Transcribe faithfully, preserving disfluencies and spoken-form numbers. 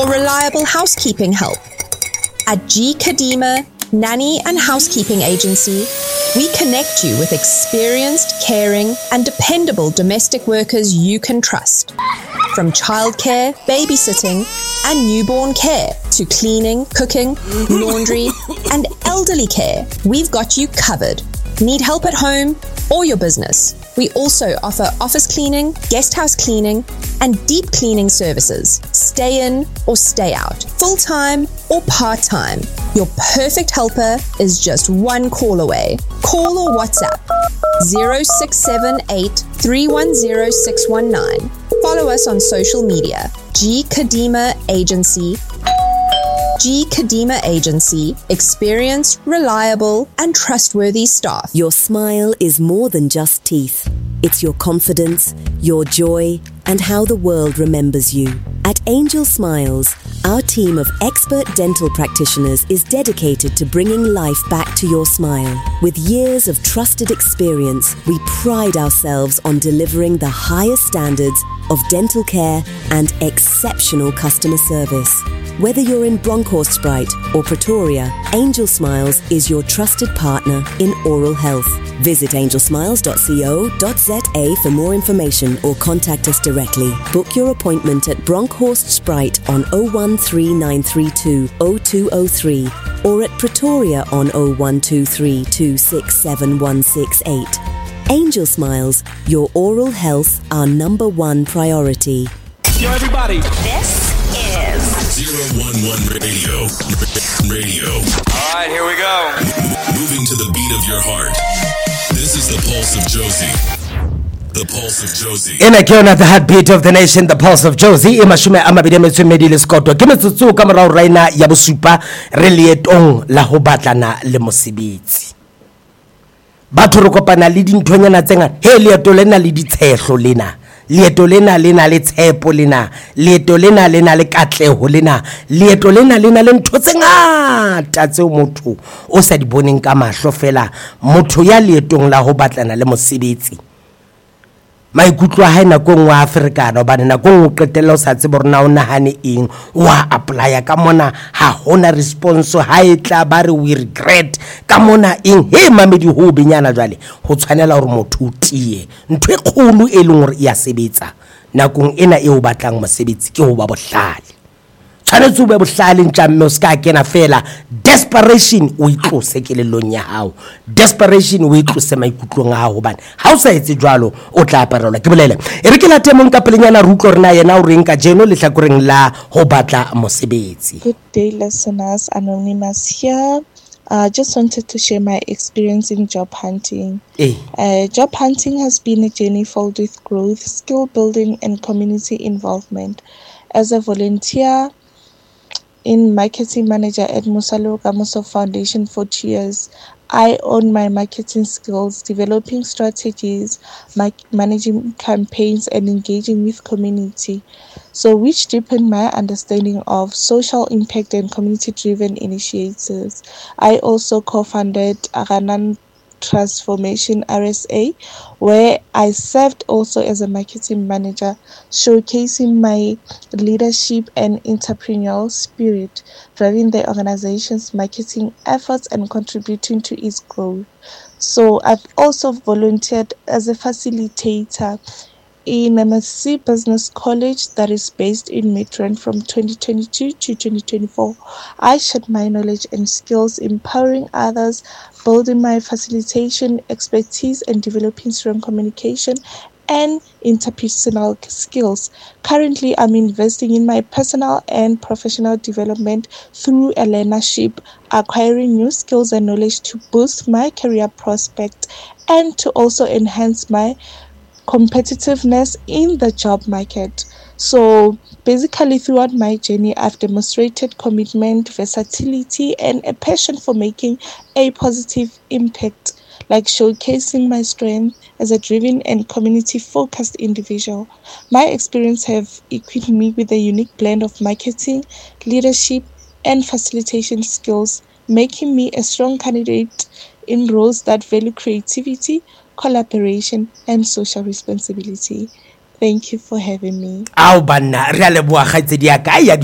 or reliable housekeeping help? At G Kadima Nanny and Housekeeping Agency, we connect you with experienced, caring, and dependable domestic workers you can trust. From childcare, babysitting, and newborn care to cleaning, cooking, laundry, and elderly care, we've got you covered. Need help at home or your business? We also offer office cleaning, guest house cleaning, and deep cleaning services. Stay in or stay out, full time or part time. Your perfect helper is just one call away. Call or WhatsApp zero six seven eight three one zero six one nine. Follow us on social media. G Kadima Agency. G Kadima Agency. Experienced, reliable, and trustworthy staff. Your smile is more than just teeth. It's your confidence, your joy, and how the world remembers you. At Angel Smiles, our team of expert dental practitioners is dedicated to bringing life back to your smile. With years of trusted experience, we pride ourselves on delivering the highest standards of dental care and exceptional customer service. Whether you're in Bronkhorstspruit or Pretoria, Angel Smiles is your trusted partner in oral health. Visit angel smiles dot co dot za for more information or contact us directly. Book your appointment at Bronkhorstspruit on oh one three nine three two oh two oh three or at Pretoria on oh one two three two six seven one six eight. Angel Smiles, your oral health, our number one priority. Yo, everybody. This is zero one one Radio. Radio. All right, here we go. Moving to the beat of your heart. This is the pulse of Jozi. The pulse of Jozi. Ena ke yona the heartbeat of the nation, the pulse of Jozi. E mashome a mabedi a metso e mmedi le sekoto. Ke metsotso ka morao raina ya bosupa re leetong la ho batlana le mosebetsi. Batho re kopana le dinthonyana tse ngata. He, leeto lena le ditshehlo lena. Leeto lena le na le tshepo lena. Leeto lena le na le katleho lena. Leeto lena le na le ntho tse ngata tseo motho o sa di boneng ka mahlo fela. Motho ya leetong la ho batlana le mosebetsi, maikutlo a hae nako e nngwe a ferekana, hobane nako e nngwe o qetella o sa tsebe hore na o nahane eng, wa apply-a ka mona ha hona response, ha e tla ba re we regret ka mona eng. He mamedi, ho benyana jwale ho tshwanela hore motho o tiye. Ntho e kgolo e leng hore e ya sebetsa nakong ena eo o batlang mosebetsi ke ho ba bohlale. Tshwanetse o be bohlale ntja, mme o se ka kena fela desperation o itlose kelellong ya hao, desperation o itlose maikutlong a hao, hobane ha o sa etse jwalo o tla aparelwa ke bolele. E re ke late mong ka pelenyana re utlwe hore na yena o reng kajeno lehlakoreng la ho batla mosebetsi. Good day, listeners. Anonymous here. I uh, just wanted to share my experience in job hunting. Eh. Uh, job hunting has been a journey filled with growth, skill building, and community involvement. As a volunteer in marketing manager at Mosalo Kamoso Foundation for two years, I own my marketing skills, developing strategies, ma- managing campaigns, and engaging with community. So, which deepened my understanding of social impact and community-driven initiatives. I also co-founded Aranan Transformation R S A, where I served also as a marketing manager, showcasing my leadership and entrepreneurial spirit, driving the organization's marketing efforts and contributing to its growth. So I've also volunteered as a facilitator in M S C Business College that is based in Midrand from twenty twenty-two to twenty twenty-four. I shared my knowledge and skills, empowering others, building my facilitation expertise, and developing strong communication and interpersonal skills. Currently, I'm investing in my personal and professional development through a learnership, acquiring new skills and knowledge to boost my career prospects and to also enhance my competitiveness in the job market. So basically, throughout my journey, I've demonstrated commitment, versatility, and a passion for making a positive impact, like showcasing my strength as a driven and community-focused individual. My experience have equipped me with a unique blend of marketing, leadership, and facilitation skills, making me a strong candidate in roles that value creativity, collaboration, and social responsibility. Thank you for having me. Ao banna, re a leboha kgaitsedi ya ka ya